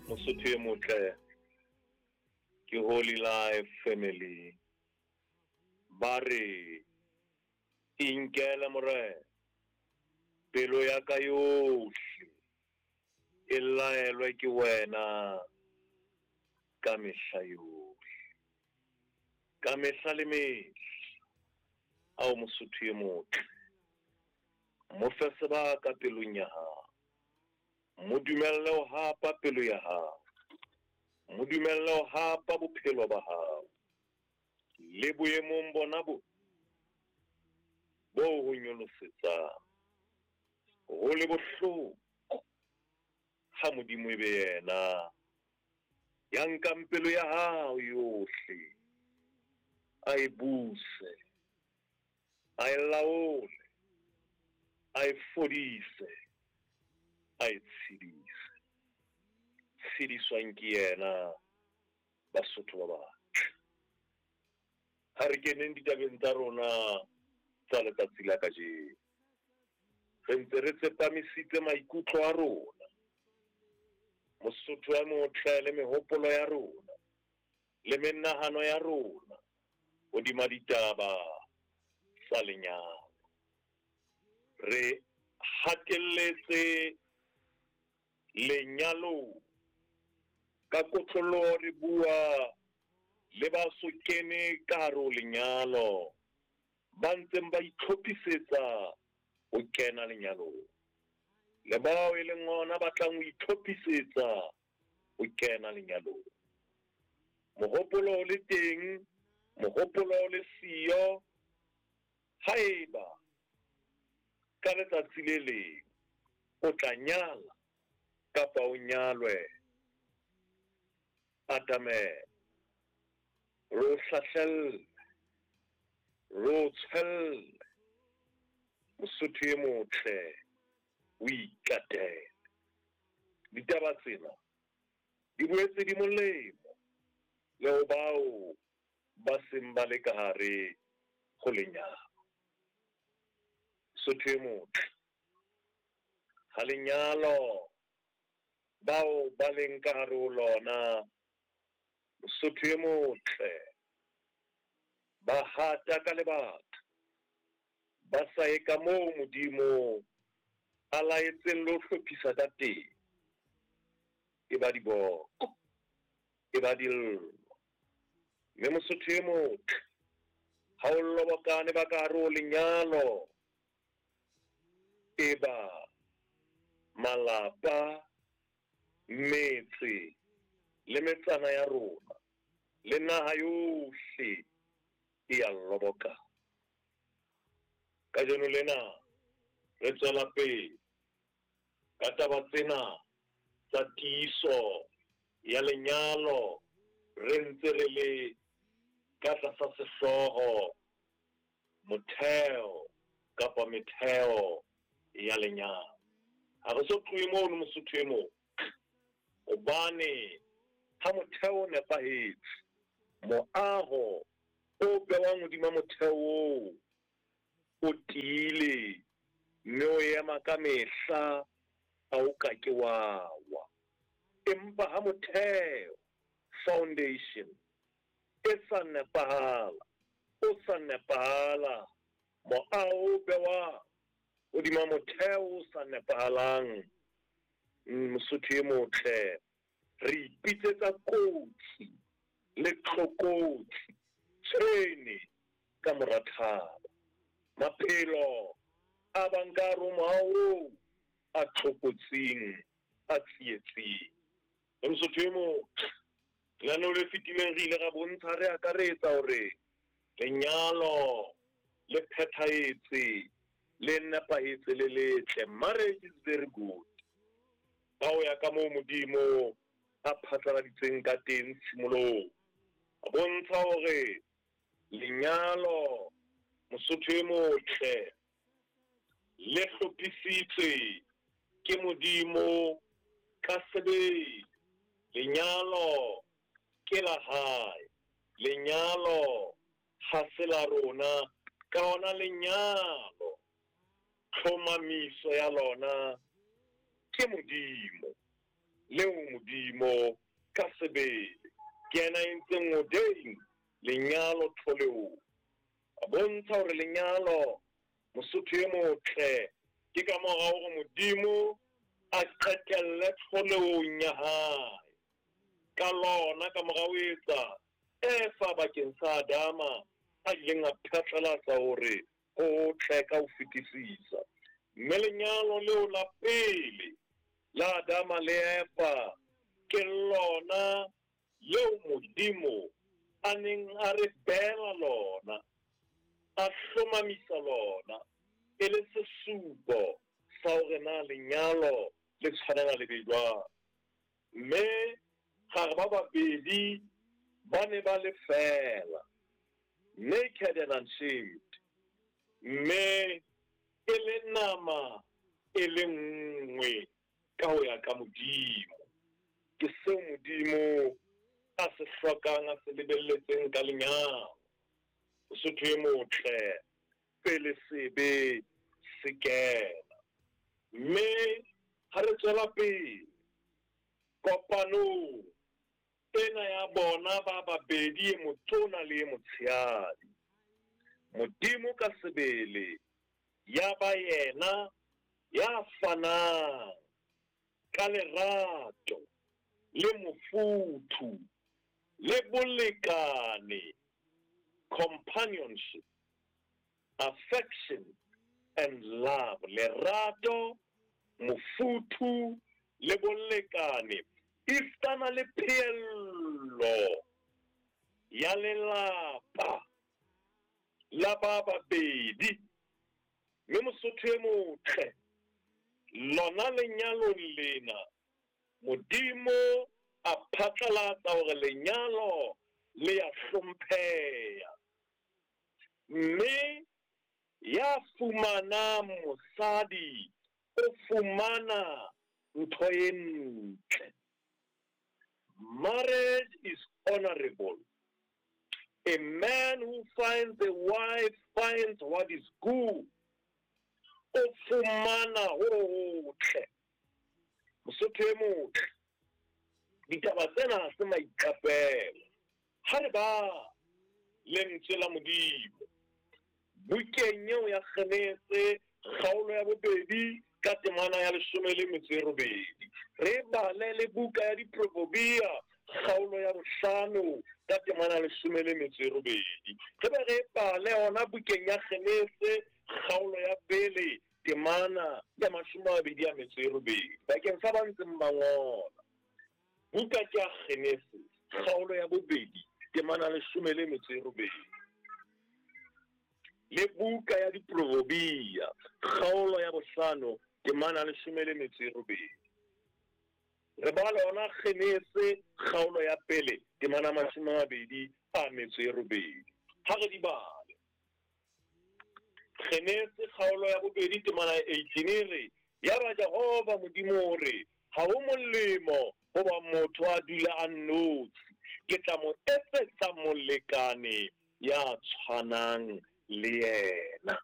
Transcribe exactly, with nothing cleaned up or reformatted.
Mosotho e motle ke Holy Life Family. Ba re inkele Morena, pelo ya ka yohle e laelwe ke wena ka mehla yohle, ka mehla le mehla. Ao Mosotho e motle, mo fe sebaka pelong ya hao, mo dumelle ho hapa pelo ya hao, mo dumelle ho hapa bophelo ba hao. Le boemong bona bo bo ho nyolosetsang, ho le bohloko ha Modimo e be yena ya nkang pelo ya hao yohle, a e buse, a e laole, a e fodise, a e tshedise. Tshediswang ke yena, Basotho ba batle. Ha re keneng ditabeng tsa rona tsa letsatsi la kajeno. Re ntse re tsepamisitse maikutlo a rona, Mosotho a motle, le mehopolo ya rona le menahano ya rona hodima ditaba tsa lenyalo. Re hatelletse lenyalong ka kotloloho, re bua le ba so kene ka hare ho lenyalo, ba ntseng ba itlhophisetsa ho kena lenyalong, le bao e leng hona ba tlang ho itlhophisetsa ho kena lenyalong. Mohopolo o le teng, mohopolo o le siyo. Haeba ka letsatsi le leng o tla nyala kapa o nyalwe, atamela, re o hlahlelle, re o tshwelle. Mosotho e motle, o ikatele. Ditaba tsena di boetse di molemo le ho bao ba seng ba le ka hare ho lenyalo. Mosotho e motle, ha lenyalo bao ba leng ka hare ho lona, Mosotho e motle, ba hata ka lebaka, ba sa ye ka moo Modimo a laetseng le ho hlophisa ka teng, e ba diboko, e ba dillo. Mme Mosotho e motle, ha o lobokane ba ka hare ho lenyalo, e ba malapa, metse le metsana ya rona le naha yohle e ya loboka. Kajeno lena re tswela pele ka taba tsena tsa tiiso ya lenyalo, re ntse re le ka tlasa sehlooho motheo kapa metheo ya lenyalo. Ha re so tlohe mono Mosotho e motle, hobane ha motheo o nepahetse, moaho o bewang hodima motheo oo o tiile mme o ema ka mehla, ha o ka ke wa wa. Empa ha motheo, foundation, e sa nepahala, o sa nepahala, moaho o bewang hodima motheo o sa nepahalang, Mosotho e motle, re ipitsetsa kotsi le tlokotsi, tshwene ka mora thaba. Maphelo a bang ka hare ho moaho oo a tlokotsing, a tsietsing. Mosotho e motle, lenaneo le fetileng re ile ra bontsha, re akaretsa hore lenyalo le phethahetse, le nepahetse, le letle. Marriage is very good. Ka ho ya ka moo Modimo a phatlaladitseng ka teng tshimolong, a bontsha hore lenyalo, Mosotho e motle, le hlophisitswe ke Modimo ka sebele. Lenyalo ke la hae, lenyalo ha se la rona, ka hona lenyalo tlhomamiso ya lona ke Modimo. leo Modimo ka sebele ke yena a entseng ordain lenyalo tlholehong. A bontsha hore lenyalo Mosotho e motle ke ka mora hore Modimo a qetelle tlholehong ya hae. Ka lona ka mora ho etsa Eva bakeng sa Adama a ileng a phatlalatsa hore ho hotle ka ho fetisisa. Mme lenyalo leo la pele la Adama le Eva ke lona leo Modimo a neng a re beela lona, a hlomamisa lona e le sesupo sa hore na lenyalo le tshwanela le be jwang. Mme gare ba babedi ba ne ba le feela, naked and unshamed, mme e le nama e le nngwe ka ho ya ka Modimo. Ke seo Modimo a se hlokang, a se lebelletseng ka lenyalo. Mosotho e motle pele sebe se kena. Mme ha re tswela pele kopanong ena ya bona ba babedi, e motona le e motshehadi, Modimo ka sebele ya ba yena ya fanang ka lerato le mofuthu le bolekane, companionship, affection and love. Lerato, mofuthu le bolekane esitana le pheello ya lelapa la ba babedi. Mme Mosotho e motle, lona lenyalong lena Modimo a phatlalatsa hore lenyalo le ya hlompheha. Mme ya fumanang mosadi o fumana ntho e ntle. Marriage is honorable. A man who finds a wife finds what is good. O fumana ho hotle. Mosotho e motle, ditaba tsena ha se maiqapelo. Ha re ba lentswe la Modimo bukeng eo ya Genese kgaolo ya bobedi ka temana ya leshome le metso e robedi, re bale le buka ya Diproverbia kgaolo ya bohlano ka temana ya leshome le metso e robedi, re be re bale hona bukeng ya Genese kgaolo ya pele temana ya mashome a mabedi a metso e robedi. Bakeng sa ba ntseng ba ngola, buka ke ya Genese kgaolo ya bobedi temana leshome le metso e robedi, le buka ya Diproverbia kgaolo ya bohlano temana leshome le metso e robedi. Re bala hona Genese kgaolo ya pele temana mashome a mabedi a metso e robedi. Ha re di bale, Genese kgaolo ya bobedi temana ya eighteen e re, yaba Jehova Modimo o re, ha ho molemo hoba motho a dula a nnotshi, ke tla mo etsetsa molekane ya tshwanang le yena.